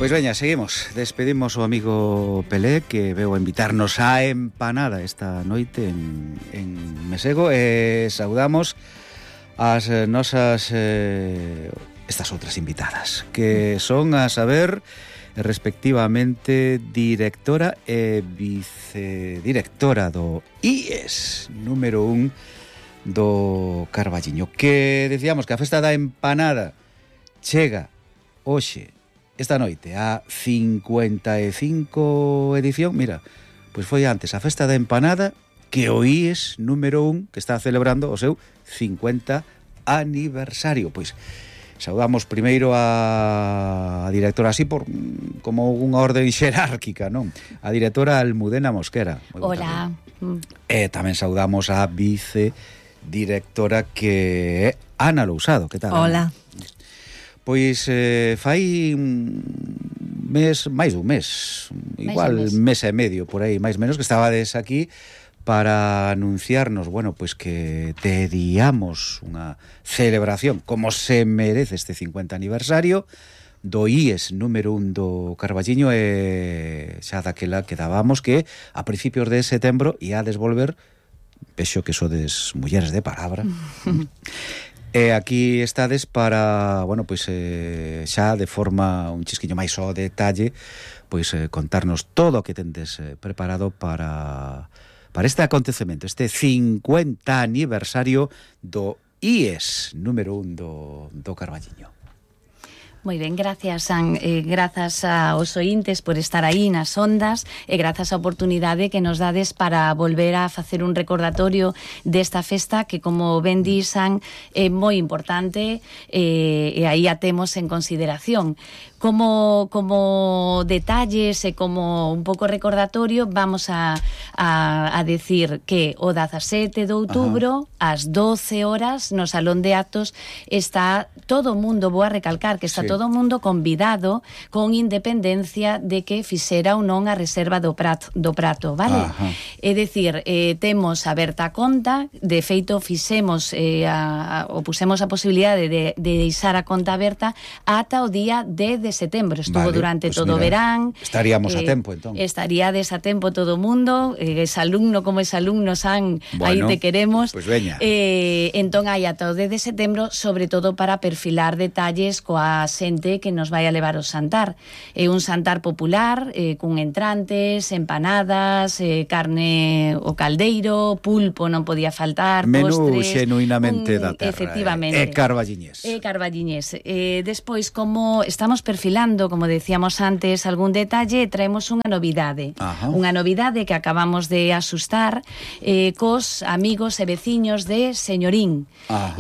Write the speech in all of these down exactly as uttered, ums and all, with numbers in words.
Pois veña, seguimos. Despedimos o amigo Pelé, que veu a invitarnos á empanada esta noite en, en Mesego, e saudamos as nosas eh, estas outras invitadas, que son a saber respectivamente directora e vicedirectora do I E S número un do Carballiño, que decíamos que a festa da empanada chega hoxe, esta noite, a cincuenta e cinco edición. Mira, pois foi antes a festa da empanada que o I E S número un, que está celebrando o seu cincuenta aniversario. Pois saudamos primeiro a, a directora, así por como unha orden xerárquica, non? A directora Almudena Mosquera. Hola. E tamén saudamos a vicedirectora, que é Ana Lousado. Que tal? Hola. Ana? Pois eh, fai un mes, máis dun mes, igual mes. mes e medio, por aí, máis menos, que estabades aquí para anunciarnos, bueno, pois que teríamos unha celebración como se merece este cincuenta aniversario do I E S número un do Carballiño, e xa daquela quedábamos que a principios de setembro ia a desvolver, vexo que sodes mulleres de palabra. E aquí estades para, bueno, pois eh, xa de forma un chisquiño máis ao detalle, pois eh, contarnos todo o que tendes eh, preparado para para este acontecemento, este cincuenta aniversario do I E S número un do, do Carballiño. Moi ben, gracias, San, eh, grazas aos ointes por estar aí nas ondas, e grazas á oportunidade que nos dades para volver a facer un recordatorio desta festa que, como ben disan, é moi importante, eh, e aí a temos en consideración. Como, como detalles e como un pouco recordatorio, vamos a, a, a decir que o dezasete de outubro, ás doce horas, no Salón de Actos, está todo o mundo, vou a recalcar que está sí. todo o mundo convidado, con independencia de que fixera ou non a reserva do prato, do prato, vale? Ajá. É dicir, eh, temos aberta a conta, de feito fixemos eh, a, a, o pusemos a posibilidade de, de deixar a conta aberta ata o día dez de setembro, estuvo vale, durante pues todo o verán. Estaríamos eh, a tempo, entón. Estaríades a tempo todo o mundo, eh, es alumno como es alumno, San, bueno, aí te queremos. Pues veña. Eh, entón hai ata o dez de setembro, sobre todo para perfilar detalles coa xente que nos vai a levar o xantar. É eh, un xantar popular, eh, cun entrantes, empanadas, eh, carne o caldeiro, pulpo non podía faltar, menú postres. Menú xenuinamente un, da terra. Efectivamente. É eh, carballiñés. É carballiñés. Eh, despois, como estamos perfilando Filando, como decíamos antes, algún detalle, traemos unha novidade. Ajá. Unha novidade que acabamos de asustar eh, cos amigos e veciños de Señorín.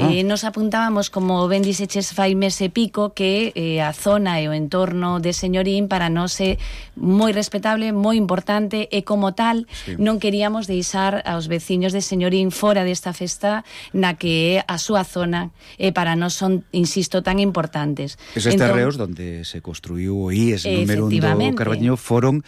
Eh, nos apuntábamos, como ben dixeches fai mes e pico, que eh, a zona e o entorno de Señorín para nós é moi respetable, moi importante, e como tal sí. non queríamos deixar aos veciños de Señorín fora desta festa na que é a súa zona, e para nós son, insisto, tan importantes. Eses entón, terreos donde se construiu o I E S número un do Carballiño foron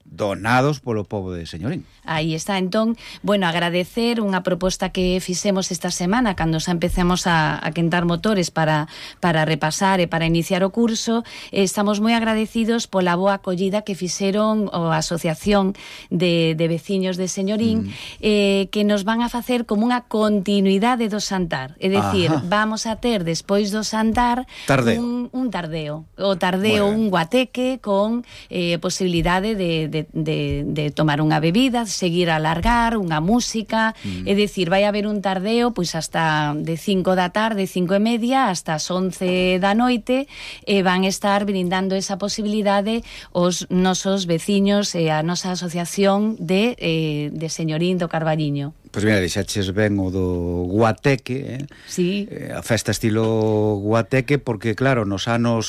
donados polo pobo de Señorín. Aí está, entón, bueno, agradecer unha proposta que fixemos esta semana cando xa empezamos a, a quentar motores para, para repasar e para iniciar o curso. Estamos moi agradecidos pola boa acollida que fixeron a Asociación de, de Veciños de Señorín, mm. eh, que nos van a facer como unha continuidade do xantar. É dicir, Ajá. vamos a ter despois do xantar tardeo. Un, un tardeo. O tardeo, un guateque con eh, posibilidade de, de, de, de tomar unha bebida, seguir a alargar, unha música, mm. é dicir, vai haber un tardeo pois hasta de cinco da tarde, cinco e media, hasta as once da noite, e van estar brindando esa posibilidade os nosos veciños e a nosa asociación de, eh, de Señorín do Carballiño. Pois mira, deixaches ben o do guateque, eh? Sí. Eh, a festa estilo guateque, porque claro, nos anos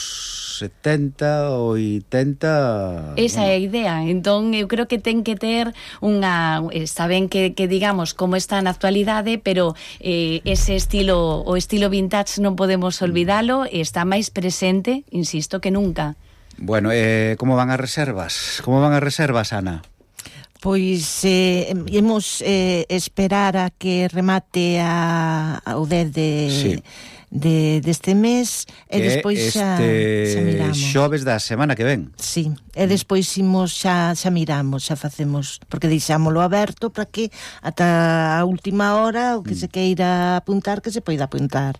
setenta, oitenta... Esa bueno. é a idea, entón eu creo que ten que ter unha... Está ben que, que digamos como está na actualidade, pero eh, ese estilo, o estilo vintage non podemos olvidalo, e está máis presente, insisto, que nunca. Bueno, eh, como van as reservas? Como van as reservas, Ana? Pois eh, imos eh, esperar a que remate a, a o dez de, sí. de deste mes e despois xa, xa miramos. Xoves da semana que ven. Sí, e despois imos xa, xa miramos, xa facemos, porque deixámoslo aberto para que ata a última hora o que mm. se queira apuntar, que se poida apuntar.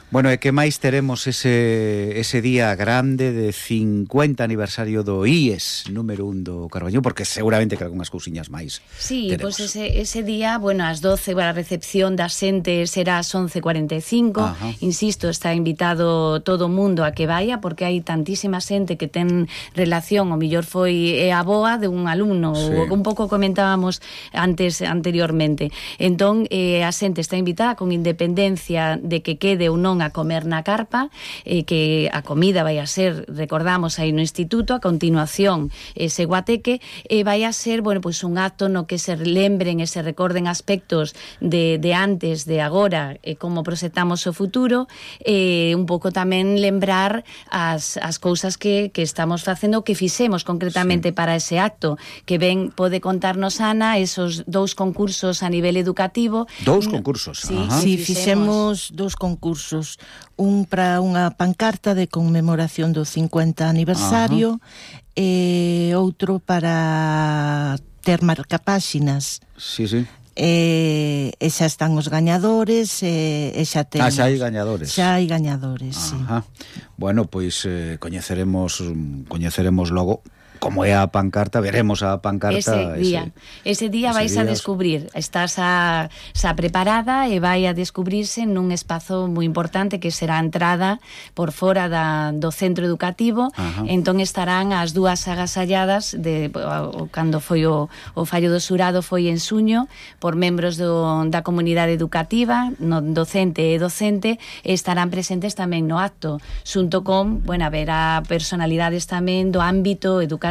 Bueno, e que máis teremos ese, ese día grande de cincuenta aniversario do I E S número un do Carballiño, porque seguramente que algunhas cousiñas máis Sí, teremos. pois pues ese, ese día, bueno, ás doce a recepción da xente será ás once e cuarenta e cinco. Ajá. Insisto, está invitado todo o mundo a que vaya, porque hai tantísima xente que ten relación, o millor foi a boa de un alumno, sí. O un pouco comentábamos antes anteriormente. Entón, eh, a xente está invitada con independencia de que quede ou non a comer na carpa, eh, que a comida vai a ser, recordamos, aí no instituto, a continuación ese guateque, e eh, vai a ser, bueno, pois un acto no que se lembren e se recorden aspectos de, de antes, de agora, e eh, como proxectamos o futuro, e eh, un pouco tamén lembrar as, as cousas que, que estamos facendo, que fixemos concretamente sí. para ese acto, que ben pode contarnos Ana, esos dous concursos a nivel educativo. Dous concursos? Sí, sí, fixemos dous concursos. Un para unha pancarta de conmemoración do cincuenta aniversario. Ajá. E outro para ter marcapáxinas. Sí, sí. E, e xa están os gañadores e, e xa temos... Ah, xa hai gañadores. Xa hai gañadores, Ajá. sí. Bueno, pois eh, coñeceremos coñeceremos logo como é a pancarta, veremos a pancarta ese día. Ese, ese día ese vais día... a descubrir, estás a, xa preparada e vai a descubrirse nun espazo moi importante que será a entrada por fora da, do centro educativo. Ajá. Entón estarán as dúas agasalladas de, o, cando foi o, o fallo do xurado foi en suño por membros do, da comunidade educativa, no docente e docente, e estarán presentes tamén no acto, xunto con, bueno, haberá personalidades tamén do ámbito educativo.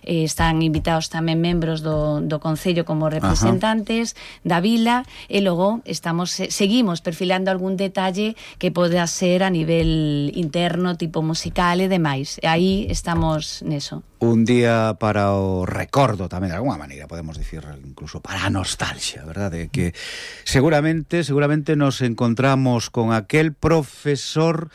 Eh, están invitados tamén membros do, do Concello como representantes. Ajá. Da vila, e logo estamos seguimos perfilando algún detalle que poda ser a nivel interno, tipo musical e demais. E aí estamos neso. Un día para o recordo tamén, de alguma maneira, podemos dicir, incluso para a nostalgia, verdade? Que seguramente, seguramente nos encontramos con aquel profesor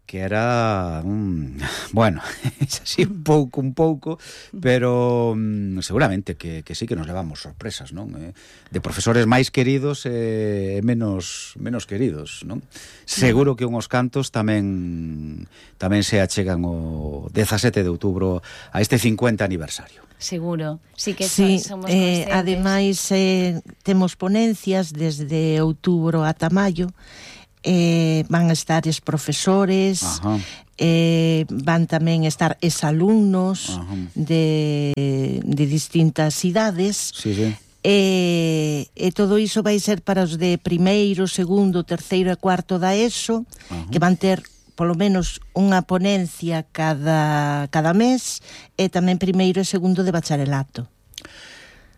que era un, bueno, así un pouco, un pouco, pero um, seguramente que, que sí que nos levamos sorpresas, non? Eh, de profesores máis queridos e eh, menos menos queridos, non? Seguro que unhos cantos tamén tamén se achegan o dezasete de outubro a este cincuenta aniversario. Seguro, sí que sí, somos eh, ademais eh, temos ponencias desde outubro ata maio. Eh, van a estar os profesores, eh, van tamén estar os alumnos de, de distintas idades. Sí, sí. E, e todo iso vai ser para os de primeiro, segundo, terceiro e cuarto da ESO. Ajá. Que van ter polo menos unha ponencia cada, cada mes, e tamén primeiro e segundo de bacharelato.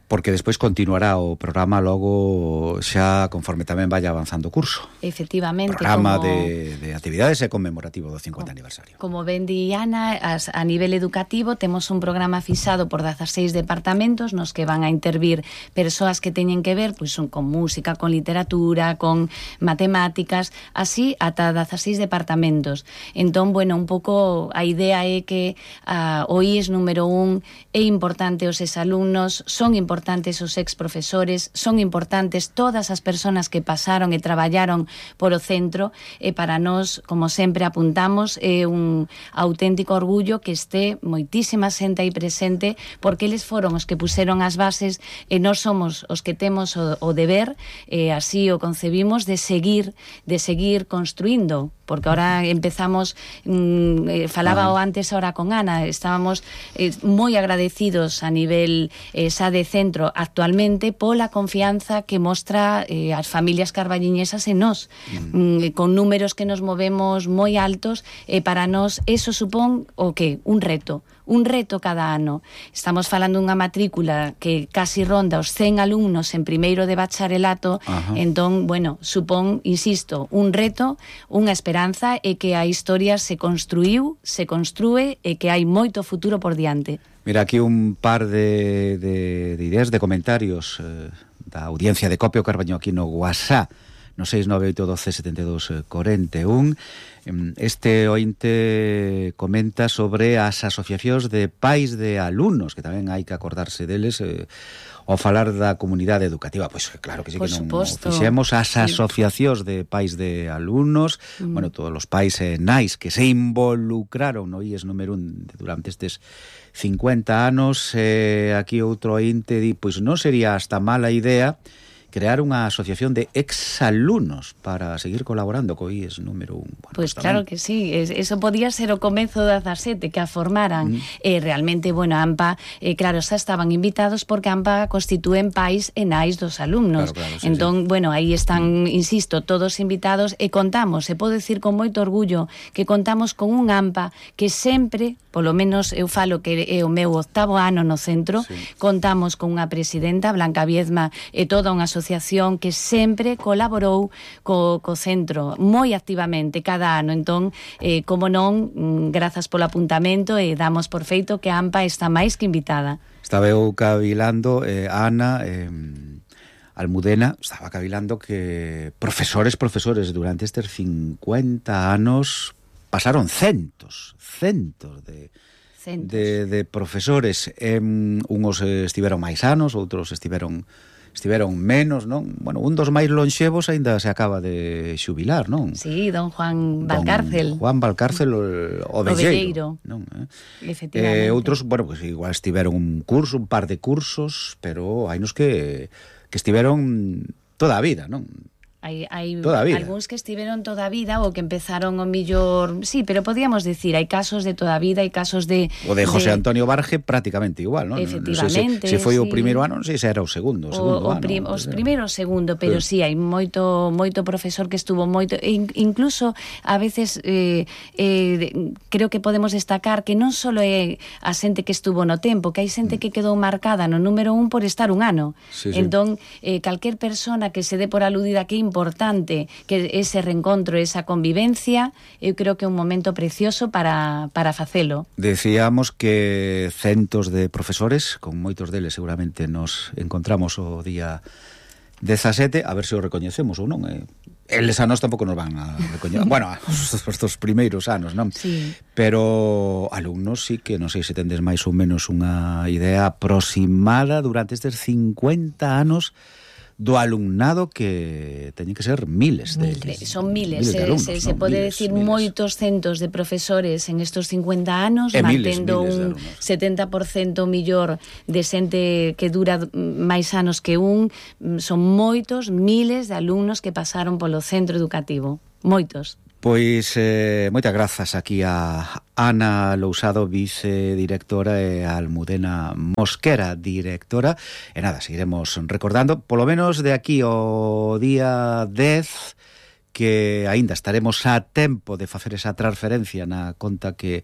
Porque despois continuará o programa logo xa conforme tamén vaya avanzando o curso. Efectivamente. Programa como, de, de actividades e conmemorativo do cincuenta como, aniversario. Como ben di Ana, as, a nivel educativo temos un programa fixado por dezaseis departamentos nos que van a intervir persoas que teñen que ver pois, son con música, con literatura, con matemáticas, así ata dezaseis departamentos. Entón, bueno, un pouco a idea é que uh, o I E S número un é importante os exalumnos, son importantes importantes os ex-profesores, son importantes todas as persoas que pasaron e traballaron por o centro, e para nós, como sempre apuntamos, é un auténtico orgullo que este moitísima xente aí presente, porque eles foron os que puseron as bases e nós somos os que temos o, o deber, e así o concebimos, de seguir, de seguir construindo, porque ahora empezamos, mmm, eh, falaba o antes ahora con Ana, estábamos eh, moi agradecidos a nivel eh, xa de centro actualmente pola confianza que mostra eh, as familias carballiñesas en nós, mm. mm, con números que nos movemos moi altos, e eh, para nós eso supón o que? Un reto. Un reto cada ano. Estamos falando dunha matrícula que casi ronda os cen alumnos en primeiro de bacharelato. Ajá. Entón, bueno, supón, insisto, un reto, unha esperanza, e que a historia se construiu, se construe, e que hai moito futuro por diante. Mira, aquí un par de, de, de ideas, de comentarios eh, da audiencia de Copio Carballiño aquí no WhatsApp. no seis nove oito doce setenta e dous cuarenta e un. Este ointe comenta sobre as asociacións de pais de alumnos, que tamén hai que acordarse deles eh, ao falar da comunidade educativa. Pois claro que sí, Por que non suposto. fixemos as Sí. asociacións de pais de alumnos, mm. bueno, todos os pais e nais que se involucraron no I E S número un durante estes cincuenta anos. Eh, aquí outro ointe di, pois non sería hasta mala idea crear unha asociación de exalumnos para seguir colaborando co I E S número un. Bueno, Pois pues pues claro que sí, es, eso podía ser o comezo da dezasete, que a formaran. Mm. Eh, realmente, bueno, AMPA, eh, claro, xa estaban invitados porque AMPA constitúen pais e nais dos alumnos. Claro, claro, sí, entón, sí. bueno, aí están, mm. insisto, todos invitados e contamos, e podo decir con moito orgullo, que contamos con un AMPA que sempre, polo menos eu falo que é o meu octavo ano no centro, sí. contamos con unha presidenta, Blanca Viezma, e toda unha asociación que sempre colaborou co, co centro moi activamente cada ano. Entón, eh, como non, grazas polo apuntamento e damos por feito que a AMPA está máis que invitada. Estaba eu cavilando, eh, Ana, eh, Almudena, estaba cavilando que profesores, profesores, durante estes cincuenta anos pasaron centos, centos de... De, de profesores. eh, Unos estiveron máis anos, outros estiveron estiveron menos, non? Bueno, un dos máis lonxevos aínda se acaba de xubilar, non? Sí, don Juan Valcárcel. Don Juan Valcárcel o, o velleiro, non? Eh? Efectivamente. Eh, outros, bueno, pues igual estiveron un curso, un par de cursos, pero hai nos que que estiveron toda a vida, non? Hai, hai algúns que estiveron toda a vida ou que empezaron o millor... Sí, pero podíamos decir, hai casos de toda a vida, hai casos de... O de José de... Antonio Barge prácticamente igual, non? Efectivamente, non sei se, se foi sí. o primeiro ano, non sei se era o segundo, o segundo o, o ano. Prim, os primeiro o segundo, pero sí, sí hai moito moito profesor que estuvo moito... In, incluso, a veces, eh, eh, creo que podemos destacar que non só é a xente que estuvo no tempo, que hai xente que quedou marcada no número un por estar un ano. Sí, sí. Entón, eh, calquer persona que se dé por aludida que é importante que ese reencontro, esa convivencia, eu creo que é un momento precioso para, para facelo. Decíamos que centos de profesores, con moitos deles seguramente nos encontramos o día dezasete, a ver se o recoñecemos ou non. Eh, eles a nós tampouco nos van a recoñecer. Bueno, os, os, os primeiros anos, non? Sí. Pero alumnos sí que non sei se tendes máis ou menos unha idea aproximada durante estes cincuenta anos do alumnado, que teñen que ser miles de, miles, son miles, miles de alumnos, se, ¿no? se pode miles, decir miles. moitos centos de profesores en estos cincuenta anos, e mantendo miles, miles un setenta por cento millor de xente que dura máis anos que un. Son moitos, miles de alumnos que pasaron polo centro educativo, moitos. Pois eh, moitas grazas aquí a Ana Lousado, vicedirectora, e a Almudena Mosquera, directora. E nada, seguiremos recordando, polo menos de aquí ao día dez, que aínda estaremos a tempo de facer esa transferencia na conta que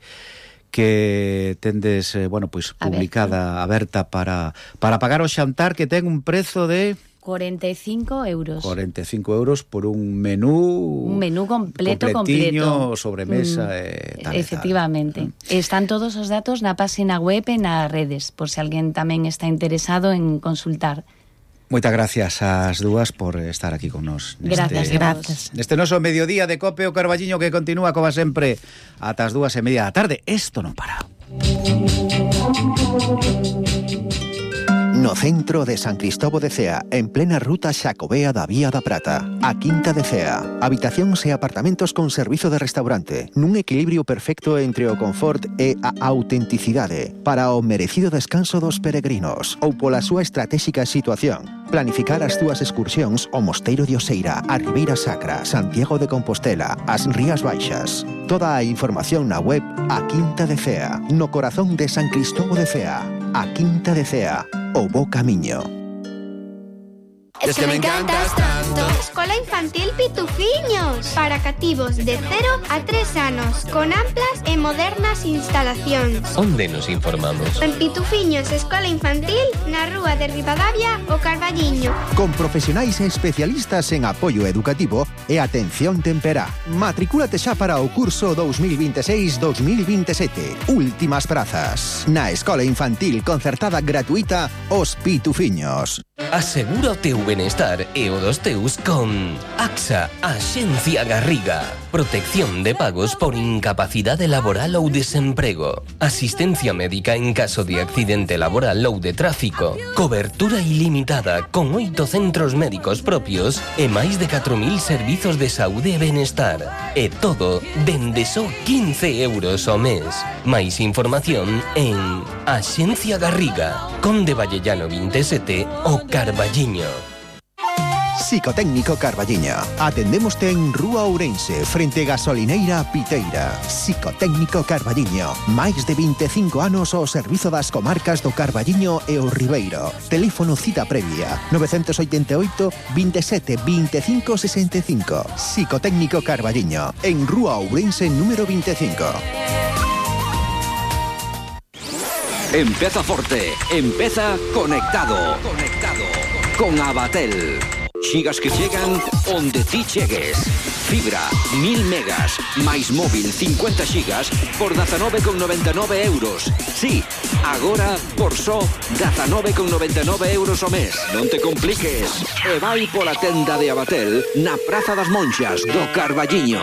que tendes, eh, bueno, pois publicada, aberta, para, para pagar o xantar, que ten un prezo de... cuarenta y cinco euros. cuarenta y cinco euros por un menú... Un menú completo, completiño, completo. sobremesa mm, e tal. Efectivamente. Tal. Están todos os datos na página web e nas redes, por se alguén tamén está interesado en consultar. Moitas gracias ás dúas por estar aquí con nos. Gracias, neste, gracias. Neste noso mediodía de Cope o Carballiño, que continúa, como sempre, ata as dúas e media da tarde. Isto non para. No centro de San Cristóbal de Cea, en plena ruta Xacobea da Vía da Prata, a Quinta de Cea, habitacións e apartamentos con servizo de restaurante, nun equilibrio perfecto entre o confort e a autenticidade, para o merecido descanso dos peregrinos, ou pola súa estratégica situación. Planificar as túas excursións ao Mosteiro de Oseira, a Ribeira Sacra, Santiago de Compostela, as Rías Baixas. Toda a información na web A Quinta de Cea, no corazón de San Cristóbal de Cea. A Quinta de Cea, o bo camiño. Es que me encantas tanto. Escola Infantil Pitufiños, para cativos de cero a tres anos, con amplas e modernas instalacións. Onde nos informamos? En Pitufiños Escola Infantil, na rúa de Ribadavia, o Carballiño. Con profesionais e especialistas en apoio educativo e atención temperá. Matricúlate xa para o curso dos mil veintiséis dos mil veintisiete. Últimas prazas. Na Escola Infantil concertada gratuita Os Pitufiños. Asegura o teu benestar e o dos teus con AXA, Axencia Garriga. Protección de pagos por incapacidade laboral ou desemprego. Asistencia médica en caso de accidente laboral ou de tráfico. Cobertura ilimitada con oito centros médicos propios e máis de catro mil servizos de saúde e benestar. E todo dende só quince euros ao mes. Máis información en Axencia Garriga, Conde Vallellano veinte e sete o Carballiño. Psicotécnico Carballiño. Atendémoste en Rúa Ourense, frente Gasolineira Piteira. Psicotécnico Carballiño. Máis de vinte e cinco anos ao servizo das comarcas do Carballiño e o Ribeiro. Teléfono cita previa nove oito oito, veintisiete, veinticinco sesenta e cinco. Psicotécnico Carballiño, en Rúa Ourense número veinticinco. Empeza forte, empeza conectado. Conectado con Abatel. Xigas que chegan onde ti chegues. Fibra, mil megas, máis móvil cincuenta xigas por dezanove con noventa e nove euros. Sí, agora por só dezanove con noventa e nove euros ao mes. Non te compliques. E vai pola tenda de Abatel na Praza das Monxas do Carballiño.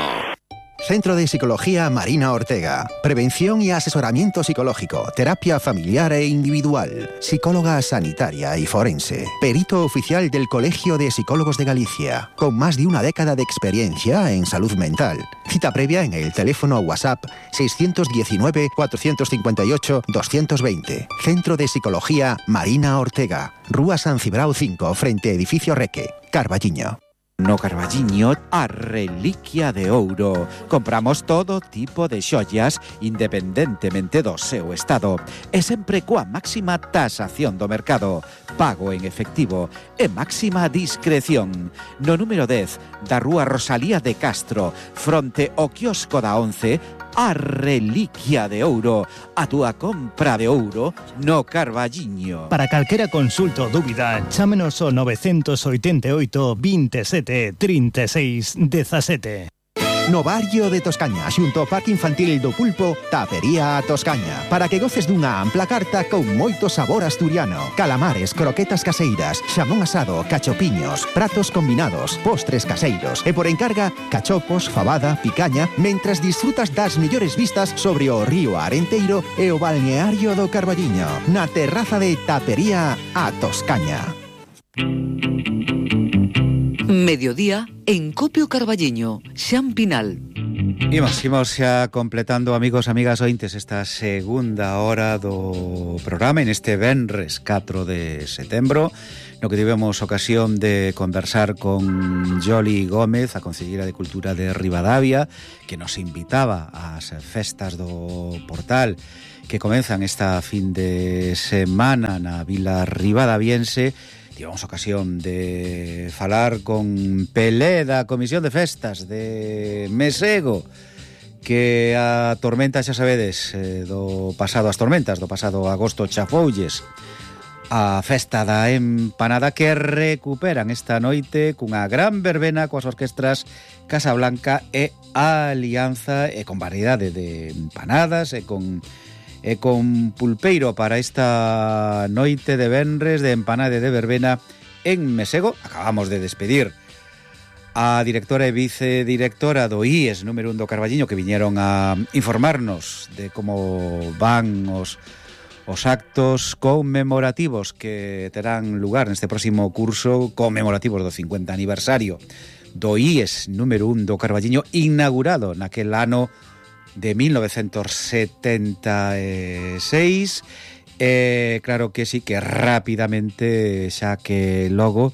Centro de Psicología Marina Ortega. Prevención y asesoramiento psicológico, terapia familiar e individual, psicóloga sanitaria y forense, perito oficial del Colegio de Psicólogos de Galicia, con más de una década de experiencia en salud mental. Cita previa en el teléfono WhatsApp seis uno nueve, cuatro cinco ocho, dos veinte. Centro de Psicología Marina Ortega. Rúa San Cibrao cinco, frente Edificio Reque, Carballiño. No Carballiño, a reliquia de ouro. Compramos todo tipo de xollas independentemente do seu estado e sempre coa máxima tasación do mercado, pago en efectivo e máxima discreción. No número dez da Rúa Rosalía de Castro, fronte ao quiosco da once, a reliquia de ouro, a túa compra de ouro no Carballiño. Para calquera consulta ou dúbida, chámenos ao nove oito oito, veintisiete, trinta e seis, dezasete. No barrio de Toscaña, xunto ao Parque Infantil do Pulpo, Tapería a Toscaña, para que goces dunha ampla carta con moito sabor asturiano. Calamares, croquetas caseiras, xamón asado, cachopiños, pratos combinados, postres caseiros e por encarga, cachopos, fabada, picaña, mentras disfrutas das mellores vistas sobre o río Arenteiro e o balneario do Carballiño, na terraza de Tapería a Toscaña. Mediodía en Copio Carballiño, Xan Pinal. Imos, imos xa completando, amigos, amigas ointes, esta segunda hora do programa en este venres catro de setembro, no que tivemos ocasión de conversar con Yoli Gómez, a conselleira de Cultura de Ribadavia, que nos invitaba ás festas do Portal que comenzan esta fin de semana na Vila Ribadaviense. Tivemos ocasión de falar con Pelé da Comisión de Festas de Mesego, que a tormenta, xa sabedes, eh, do pasado, as tormentas do pasado agosto chafoulles a festa da empanada, que recuperan esta noite cunha gran verbena coas orquestras Casablanca e Alianza, e con variedade de empanadas e con e con pulpeiro para esta noite de venres de empanada de verbena en Mesego. Acabamos de despedir a directora e vicedirectora do I E S número un do Carballiño, que viñeron a informarnos de como van os, os actos conmemorativos que terán lugar neste próximo curso, conmemorativos do cincuenta aniversario do I E S número un do Carballiño, inaugurado naquel ano de mil novecientos setenta e seis. Eh, claro que sí, que rapidamente, xa que logo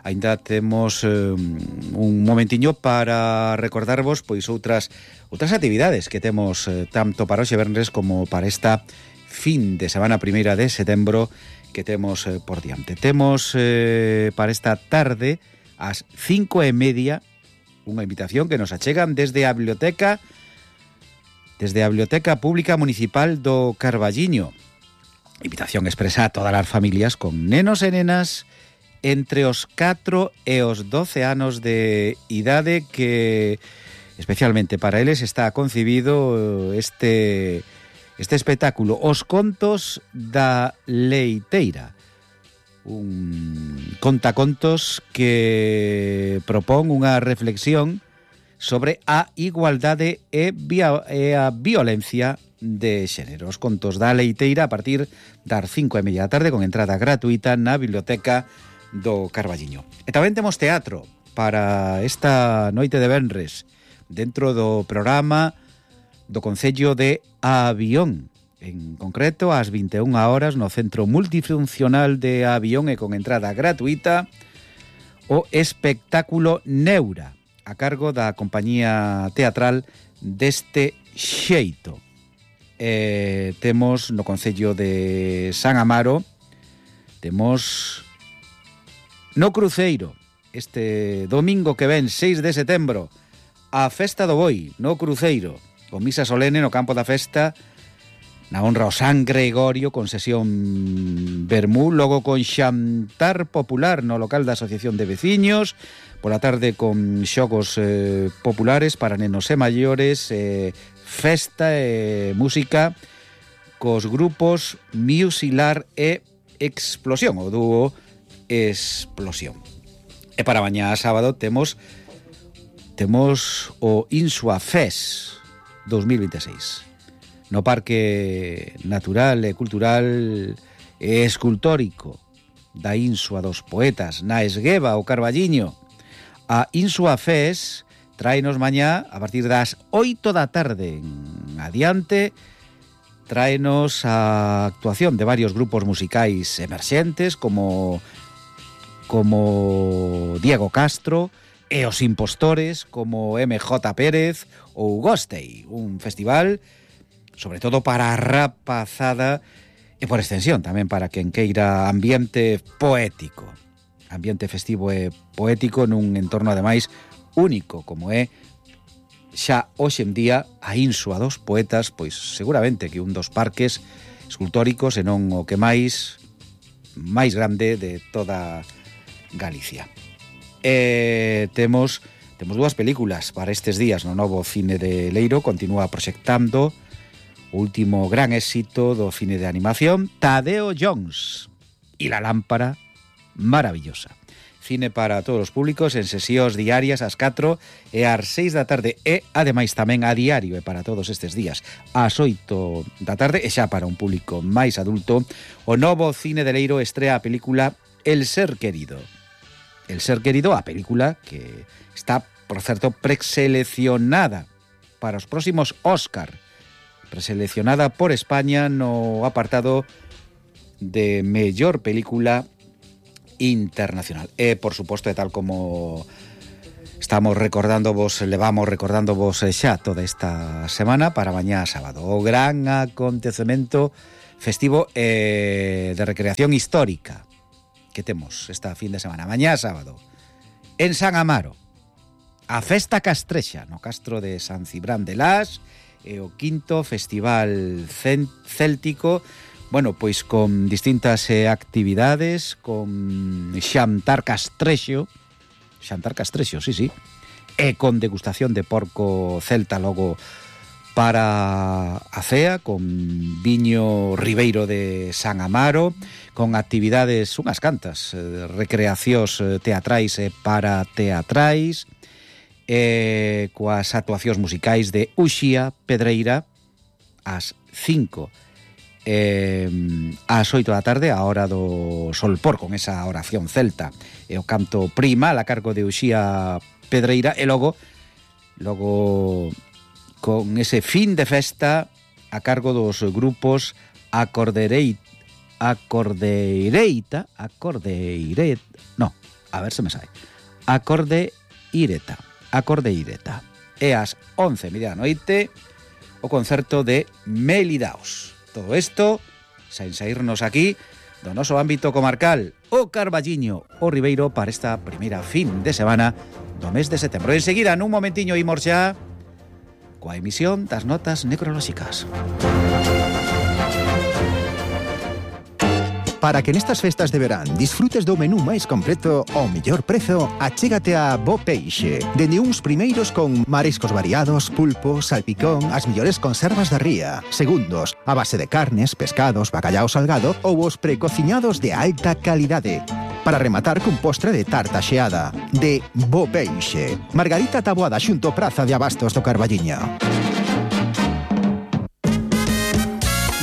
aínda temos eh, un momentiño para recordarvos pois outras outras actividades que temos eh, tanto para hoxe venres como para esta fin de semana primeira de setembro que temos eh, por diante. Temos eh, para esta tarde ás cinco e media unha invitación que nos achegan desde a biblioteca desde a Biblioteca Pública Municipal do Carballiño. Invitación expresa a todas as familias con nenos e nenas entre os catro e os doce anos de idade, que especialmente para eles está concibido este, este espectáculo, Os Contos da Leiteira. un contacontos que propón unha reflexión sobre a igualdade e, via, e a violencia de xénero. Os contos da Leiteira a partir das cinco e media da tarde con entrada gratuita na biblioteca do Carballiño. E tamén temos teatro para esta noite de venres dentro do programa do Concello de Avión. En concreto, ás vinte e unha horas no Centro Multifuncional de Avión e con entrada gratuita o espectáculo Neura, a cargo da compañía teatral Deste Xeito. Eh, temos no Concello de San Amaro, temos no Cruceiro, este domingo que ven, seis de setembro, a Festa do Boi, no Cruceiro, con misa solene no campo da festa, na honra ao San Gregorio, con sesión vermú, logo con xantar popular no local da Asociación de Veciños, pola tarde con xogos eh, populares para nenos e maiores, eh, festa e música cos grupos Musilar e Explosión, o dúo Explosión. E para mañá sábado temos temos o Insua Fest dos mil veintiséis no Parque Natural e Cultural e Escultórico da Insua dos Poetas, na Esgueva, o Carballiño. A Insua Fest tráenos mañá, a partir das oito da tarde en adiante, tráenos a actuación de varios grupos musicais emerxentes como como Diego Castro e os Impostores, como M J Pérez ou Gostei, un festival sobre todo para a rapazada e por extensión tamén para quen queira ambiente poético, ambiente festivo e poético nun entorno ademais único como é xa hoxe en día a Insua dos Poetas, pois seguramente que un dos parques escultóricos e non o que máis máis grande de toda Galicia. E temos temos dúas películas para estes días no novo cine de Leiro, continúa proxectando o último gran éxito do cine de animación, Tadeo Jones e la lámpara maravillosa. Cine para todos os públicos en sesións diarias ás catro e ás seis da tarde e ademais tamén a diario e para todos estes días ás oito da tarde e xa para un público máis adulto o novo cine de Leiro estrea a película El Ser Querido. El Ser Querido, a película que está, por certo, preseleccionada para os próximos Óscar, preseleccionada por España no apartado de mellor película internacional. E, por suposto, e tal como estamos recordando vos, levamos recordando vos xa toda esta semana para mañá sábado, o gran acontecemento festivo e de recreación histórica que temos esta fin de semana, mañá sábado, en San Amaro, a Festa Castrexa, no Castro de San Cibrán de Las, e o quinto Festival Céltico, bueno, pois con distintas eh, actividades, con xantar castrexo, xantar castrexo, sí, sí, e con degustación de porco celta logo para a cea, con viño ribeiro de San Amaro, con actividades, unhas cantas, eh, recreacións teatrais e para teatrais, e coas actuacións musicais de Uxía Pedreira ás cinco e ás oito da tarde, a hora do solpor, con esa oración celta e o canto primal a cargo de Uxía Pedreira, e logo logo con ese fin de festa a cargo dos grupos Acordereita Acordeireita Acordeiret no, a ver se me sai Acordeireta Acordeireta. E ás once e media da noite o concerto de Melidaos. Todo isto sen saírnos aquí do noso ámbito comarcal, o Carballiño, o Ribeiro, para esta primeira fin de semana do mes de setembro. Enseguida, nun momentiño, imos xa coa emisión das notas necrolóxicas. Para que nestas festas de verán disfrutes do menú máis completo ao mellor prezo, achégate a Bo Peixe. Dende uns primeiros con mariscos variados, pulpo, salpicón, as mellores conservas da ría. Segundos, a base de carnes, pescados, bacallao salgado ou os precociñados de alta calidade. Para rematar cun postre de tarta xeada. De Bo Peixe. Margarita Taboada xunto Praza de Abastos do Carballiño.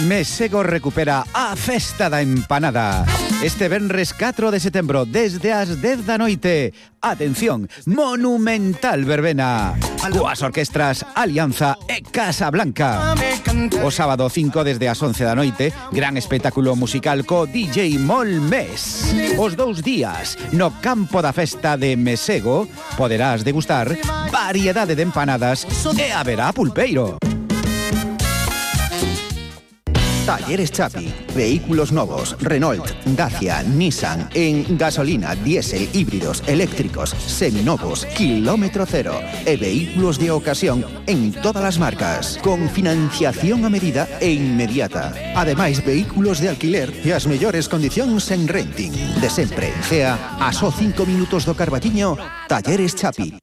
Mesego recupera a Festa da Empanada. Este venres catro de setembro, desde as dez da noite. Atención, monumental verbena. Coas orquestras Alianza e Casa Blanca. O sábado cinco, desde as once da noite, gran espectáculo musical co D J Molmes. Os dous días, no campo da festa de Mesego, poderás degustar variedade de empanadas e haberá pulpeiro. Talleres Chapi. Vehículos novos, Renault, Dacia, Nissan, en gasolina, diésel, híbridos, eléctricos, seminovos, kilómetro cero e vehículos de ocasión en todas as marcas, con financiación a medida e inmediata. Ademais, vehículos de alquiler e as mellores condicións en renting. De sempre en Cea, a só cinco minutos do Carballiño, Talleres Chapi.